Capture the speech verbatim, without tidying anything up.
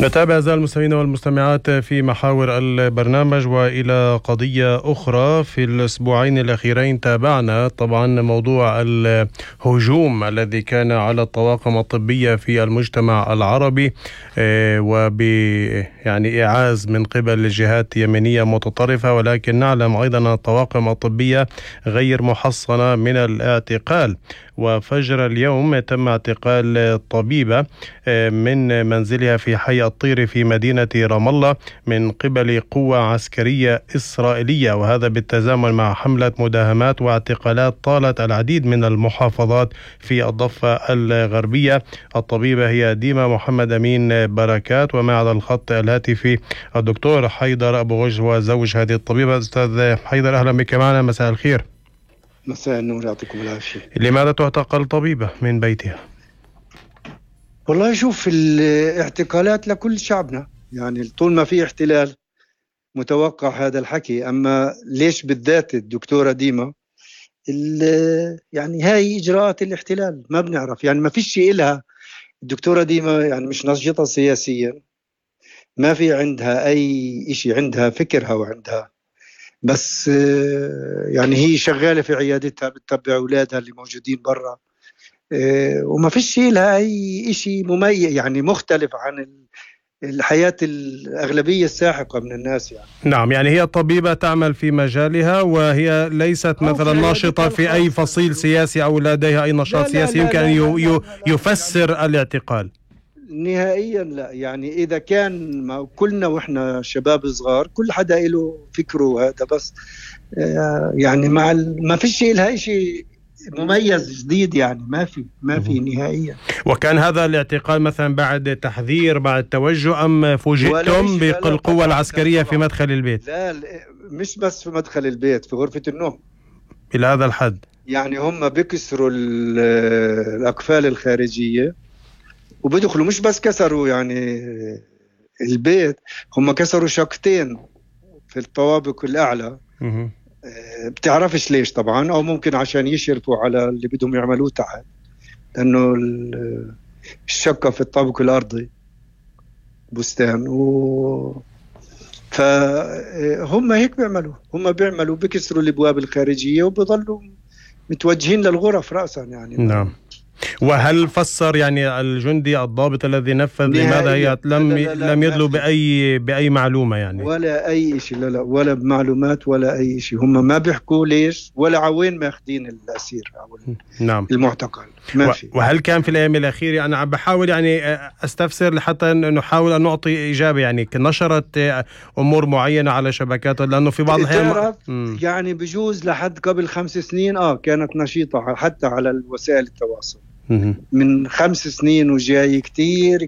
نتابع أعزائي المستمعين والمستمعات في محاور البرنامج وإلى قضية أخرى. في الأسبوعين الأخيرين تابعنا طبعا موضوع الهجوم الذي كان على الطواقم الطبية في المجتمع العربي وب يعني إعاز من قبل جهات يمنية متطرفة، ولكن نعلم أيضا أن الطواقم الطبية غير محصنة من الاعتقال. وفجر اليوم تم اعتقال طبيبة من منزلها في حي الطير في مدينة رام الله من قبل قوة عسكرية إسرائيلية، وهذا بالتزامن مع حملة مداهمات واعتقالات طالت العديد من المحافظات في الضفة الغربية. الطبيبة هي ديما محمد أمين بركات، ومع على الخط الهاتفي الدكتور حيدر أبو غج وزوج هذه الطبيبة. أستاذ حيدر أهلا بك معنا، مساء الخير. مساء النور، يعطيكم العافية. لماذا تعتقل طبيبة من بيتها؟ والله شوف، الاعتقالات لكل شعبنا، يعني طول ما في احتلال متوقع هذا الحكي. أما ليش بالذات الدكتورة ديما؟ يعني هاي إجراءات الاحتلال ما بنعرف، يعني ما فيش شيء إلها. الدكتورة ديما يعني مش نشطة سياسيا، ما في عندها أي إشي، عندها فكرها وعندها بس يعني هي شغالة في عيادتها بتتبع أولادها اللي موجودين برا، وما فيش لها أي إشي مميز يعني مختلف عن الحياة الأغلبية الساحقة من الناس يعني. نعم، يعني هي طبيبة تعمل في مجالها وهي ليست مثلا ناشطة في أي فصيل سياسي أو لديها أي نشاط سياسي يمكن أن يفسر الاعتقال. نهائيا لا، يعني إذا كان ما كلنا وإحنا شباب صغار كل حدا له فكره هذا، بس يعني مع ما فيش لها شيء مميز جديد، يعني ما في ما في نهائيا. وكان هذا الاعتقال مثلا بعد تحذير بعد توجه أم فوجئتم بالقوة العسكرية في مدخل البيت؟ لا مش بس في مدخل البيت، في غرفة النوم. إلى هذا الحد يعني هم بيكسروا الأقفال الخارجية وبيدخلوا، مش بس كسروا يعني البيت، هم كسروا شقتين في الطوابق الأعلى. بتعرفش ليش طبعا، أو ممكن عشان يشرفوا على اللي بدهم يعملوه تحت، لأنه الشقة في الطابق الأرضي بستان و... فهم هيك بيعملوا، هم بيعملوا بيكسروا الأبواب الخارجية وبيضلوا متوجهين للغرف رأسا يعني. نعم. وهل فسر يعني الجندي الضابط الذي نفذ لماذا هي لم لا لا لا لم يدلوا بأي بأي معلومة يعني؟ ولا أي شيء، لا لا ولا بمعلومات ولا أي شيء. هم ما بيحكوا ليش ولا عوين ماخدين الأسير أو نعم المعتقل، ما في. وهل كان في الأيام الأخيرة، أنا بحاول يعني أستفسر حتى نحاول أن نعطي إجابة، يعني نشرت أمور معينة على شبكات، لأنه في بعض الأحيان يعني بجوز لحد قبل خمس سنين آه كانت نشيطة حتى على وسائل التواصل. من خمس سنين وجاي كتير